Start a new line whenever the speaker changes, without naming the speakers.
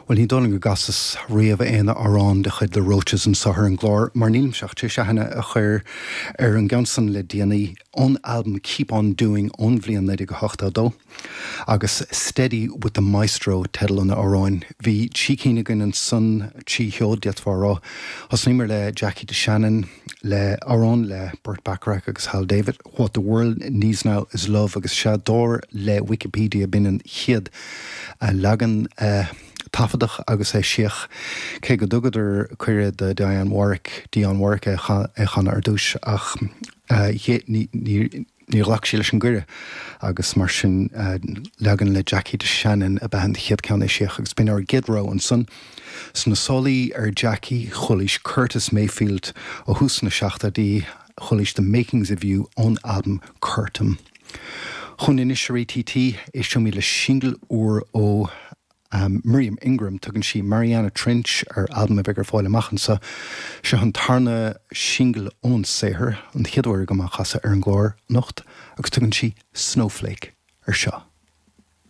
Bhuel, ní dóigh liom go gcasas riamh aon amhrán de chuid The Roches anseo ar an gclár, mar nílimse ach tar éis aithne a chur ar an gceann san le déanaí, ón albam Keep On Doing ón bhliain 1982, agus Steady With The Maestro teideal an amhráin. Bhí trí cinn againn ansan, trí sheoid, d'fhéadfá a rá. Thosnaíomar le Jackie DeShannon, le amhrán le Burt Bacharach agus Hal David, What the World Needs Now Is Love agus sea, dar le Wikipedia b'in an chéad leagan a taifeadadh agus eisíodh, cé go dtugadar cuireadh do Dionne Warwick, Dionne Warwick é a chanadh ar dtús ach níor ghlac sí leis an gcuireadh agus mar sin leagan le Jackie DeShannon ab ea an chéad ceann a eisíodh agus b'in ár gcéad rogha ansan. Sna sálaí ar Jackie, chualaís Curtis Mayfield ó thús na seachtóidí, Chualaís The Makings of You ón albam Curtom. Chugainn anois ar ATT, éisteoimid le singil úr ó Miriam Ingram. Tugann sí Mariana Trench ar albam a bheidh ar fáil amach anseo. Seo an tarna singil ón saothar, an chéad uair agam á chasadh ar an gclár anocht, agus tugann sí Snowflake ar seo.